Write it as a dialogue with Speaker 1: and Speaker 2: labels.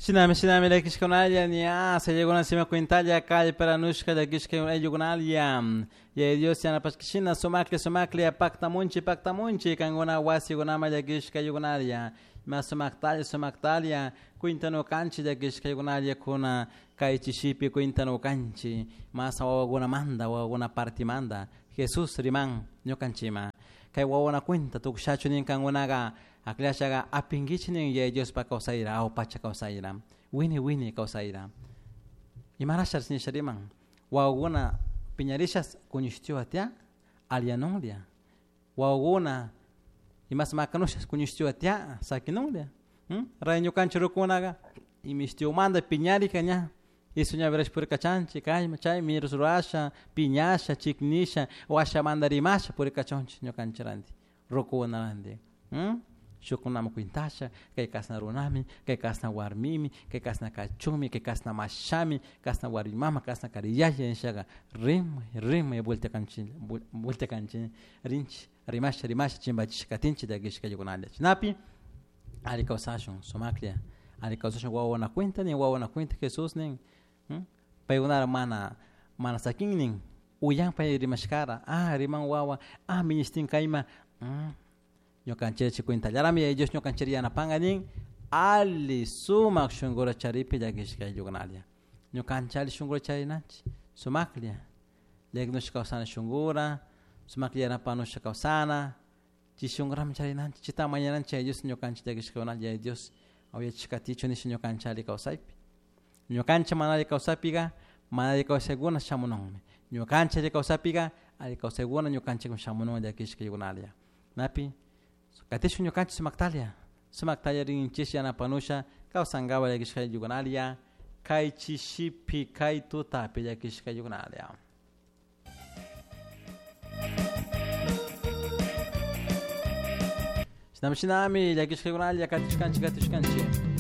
Speaker 1: Shinami shinami llakishkunalla ña sayakuna cuentalla kallparanushka llakishka ayllukunalla Yaya Dios yanapashkashina sumaklla sumaklla paktamunchi paktamunchi kankuna wasikunaman llakishka ayllukunalla ima sumaktalla sumaktalla cuentanukanchik llakishka ayllukunalla kuna kay chishipi cuentanukanchik masa wawakunamanta wawakuna partimanta Jesús riman ñukanchikman kay wawakuna cuenta tukushachu nin kankunaka aklashaqa apinkichik nin Yaya Diospa kawsayra aw pacha kawsayra wini wini kawsayra imarasha nisha riman wawakuna piñarishas kuñushtiwa tiyan alliyanunlla wawakuna imas makanushas kuñushtiwa tiyan sakinunlla ray ñukanchik rukukunaka imishtiwamanta piñarika ña isu ñawi purikachanchik kayman chayman rurasha piñasha chiknisha washamanta rimasha purikachunchik ñukanchik ranti rukukunaranti shukkunaman cuentasha kay kashna runami kay kashna warmimi kay kashna kachunmi kay kashna mashami kashna warmi mama kashna kari yaya nishaka rimay rimay vueltakanchik vueltakanchik rinchik rimasha rimasha chimpachisha katinchik llakishka ayllukunalla chaynapi alli kawsashun sumaklla alli kawsashun wawakuna cuenta nin wawakuna cuenta Jesús nin paykunara mana mana sakin nin uyan pay rimashkara ah riman wawa ah minishtin kayma ñukanchik cuentallarami Yaya Dios ñukanchik yanapanka nin alli sumak shunkura charipi llakishka ayllukunalla ñukanchik alli shunkura charinanchik sumaklla llakinushka kawsana shunkura sumaklla yanapanusha kawsana chay shunkurami charinanchik chayta mañananchik Yaya Dios ñukanchik llakishkakunalla Yaya Dios uyachishkatichu nisha ñukanchik alli kawsaypi ñukanchik mana alli kawsaypika mana alli kawsaykuna shamununmi ñukanchik alli kawsaypika alli kawsaykuna ñukanchikman shamunun llakishka ayllukunalla napi katishun ñukanchik sumaktalla sumaktalla rinchik yanapanusha kawsankapak llakishka ayllukunalla kay chishipi kay tutapi llakishka ayllukunalla. Shinami shinami llakishka ayllukunalla katishkanchik katishkanchik.